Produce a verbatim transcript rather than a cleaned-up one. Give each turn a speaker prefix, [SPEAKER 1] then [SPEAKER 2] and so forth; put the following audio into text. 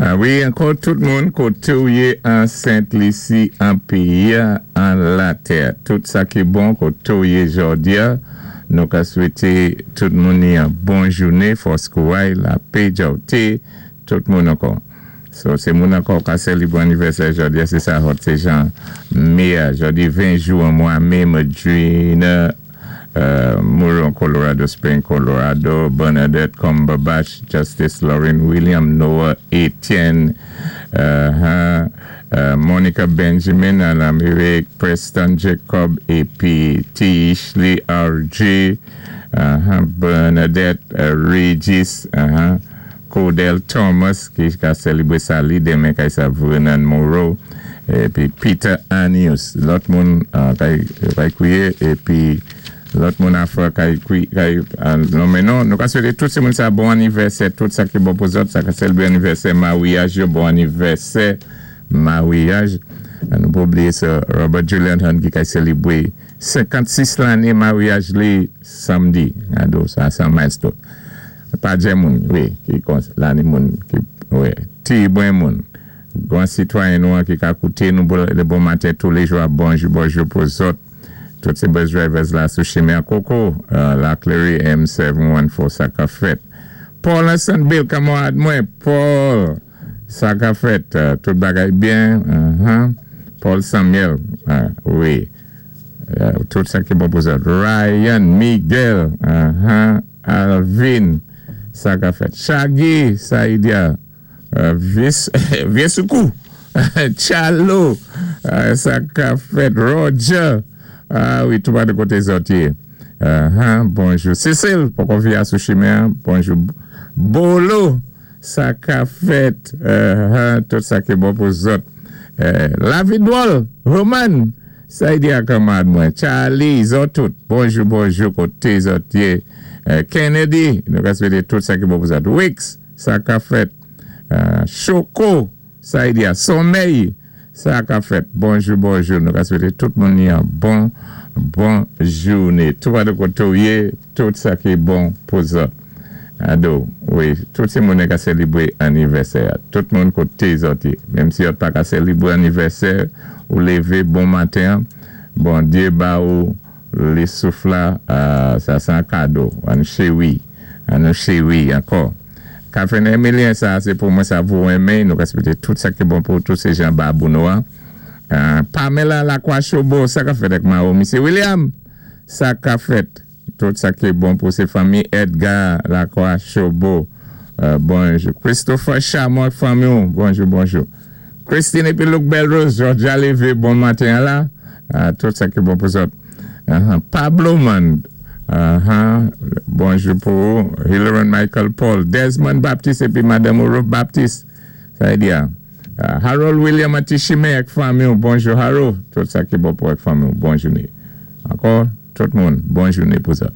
[SPEAKER 1] Ah wi, ankò tout moun koté ou yé an Sent Lisi, an péyi, an latè. Tout sa ki bon koté ou yé jòdi-a. Nou ka swété tout moun yon bon jouné, fòs kouway, lapè, djawté, tout moun ankò. So, sé moun ankò ka sélibwé anivèsè jòdi-a, sé sa hot, sé jan mé, jòdi ven jou an mwa mé, Madrina, uh, Mouron, Colorado Spring, Colorado, Bernadette Cumberbatch, Justice Lauren William, Noah Etienne, uh, uh, Monica Benjamin an Amérik, Preston Jacob, épi T. Ishley R J, uh, Bernadette uh, Regis, uh, Codell Thomas, ki ka sélibwé sa li denmen kay sa Vernon Moreau, épi Peter Anius, lòt moun uh, kay, kay kwiyé, épi lòt moun afè kay kwi, kay, non men non, nou ka swété tout sé moun sa bon anivèsè, tout sa ki bon pou zòt, sa ka sélibwé anivèsè mawyaj yo, bon anivèsè mawyaj. Nou pa blié sa Robert Julian Hunt ki kay sélibwé senkannsis lanné mawyaj li samdi, ado sa san milestone. Pa djé moun, wi, ki kon, lanné moun, ki, wi, ti bwen moun. Gwan sitwayen nou an ki ka kouté nou le bon maten tous les jours, bonjou, bonjou pou zòt. Tout sé bus drivers la sou chimen Koko, la Clery M seven one four, sa ka fèt. Paul Hassan Bill, kanmarad mwen, Paul, sa ka fèt, tout bagay byen, Paul Samuel, wi, tout sa ki bon pou zòt. Ryan, Miguel, Alvin, sa ka fèt. Shaggy, Saidia, Viesoukou, Chalo, sa ka fèt. Roger, ah wi, tout ba de koté zòt yé. Bonjou. Cécile, poko via sou chimen, bonjou. Bolo, sa ka fèt, tout sa ki bon pou zòt. La Vidwol, Roman, sa yi di akamad mwen. Charlie, zòt tout, bonjou, bonjou, koté zòt yé. Kennedy, nou ka swété tout sa ki bon pou zòt. Wix, sa ka fèt. Choco, sa yi di a Sommeil, sa ka fèt. Bonjou, bonjou, nou ka swété tout moun yon bon, bon jouné. Tout ba de koté ou yé, tout sa ki bon pou zòt. Ado, wi, tout sé moun ka sélibwé anivèsè. Tout moun koté zòt yé. Menm si yo pa ka sélibwé anivèsè, ou lévé bon maten, Bondyé ba ou lé souf la, sa sé an kado, an chéwi, an chéwi ankò. Kafene Emilien, sa sé pou mwen sa vou renmen, nou ka swété tout sa ki bon pou tout sé jan babou nou an. Pamela Lakwa Chobo, sa ka fèt ek ma ou, Misye William, sa ka fèt. Tout sa ki bon pou sé fanmi Edgar Lakwa Chobo. Bonjou. Christopher Chamok, fanmi ou, bonjou, bonjou. Christine epi Luc Belrose, Georgia Lévé, bon maten la. Tout sa ki bon pou zòt. Pablo Man, bonjou pou ou. Hilary Michael Paul, Desmond Baptiste epi Madame Ruth Baptiste. Sa yi di ya. Harold William Atishime ek fanmi ou, bonjou Harold. Tout sa ki bon pou ek fanmi ou, bonjou ni. Ankò, tout moun, bon jouné pou zòt.